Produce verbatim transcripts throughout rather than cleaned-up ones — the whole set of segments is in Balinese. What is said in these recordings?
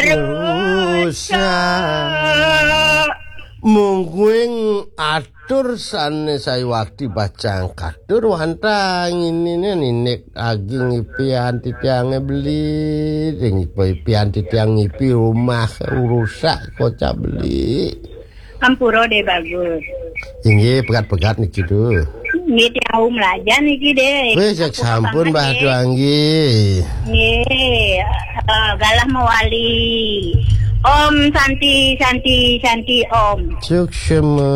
rusak. Mungguing atur sané sayuwakti bacang katur wantah ngininé ninik agi ngipian titiangé beli, sing ipian titiang ngipi rumah rusak kocap beli. Ampura deh bagus. Inggih, pegat-pegat niki tuh. Nggih, tiang melajan niki deh. Wis, jak sampun, Mbah Tuanggi. Nggih, eh, galah mewali. Om Santi, Santi, Santi, Om. Suksma.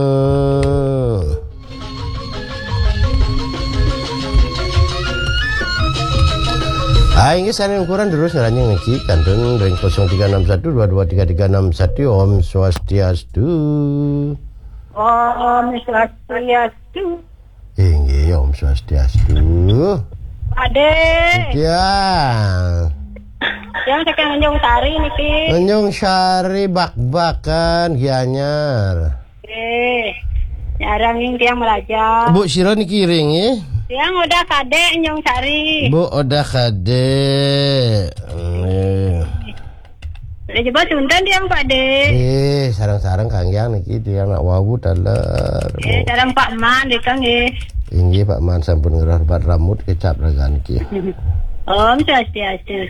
Ah, inggih sané ukuran terus ngeranjing niki kantun ring kosong tiga enam satu dua dua tiga tiga enam satu. Om Swastiastu. Om Swastiastu. Inggih, Om Swastiastu. Ade. Ya. Yang saking Tanjung Sari niki. Tanjung Sari bak-bakan Gianyar. Eh, nyarang ning tiang melajar. Bu, sira niki iring, nggih? Tiang udah kadek Nyung Sari. Bu, udah kadek. Nggih. Udah coba suntan tiang, Pak De. Nggih, sareng-sareng kanggiang niki tiang nak wau taler. Eh, Bu. Sareng Pak Man, deka nggih. Inggih, Pak Man sampun ngerah bat rambut kecap ragan niki. Om Swastiastu.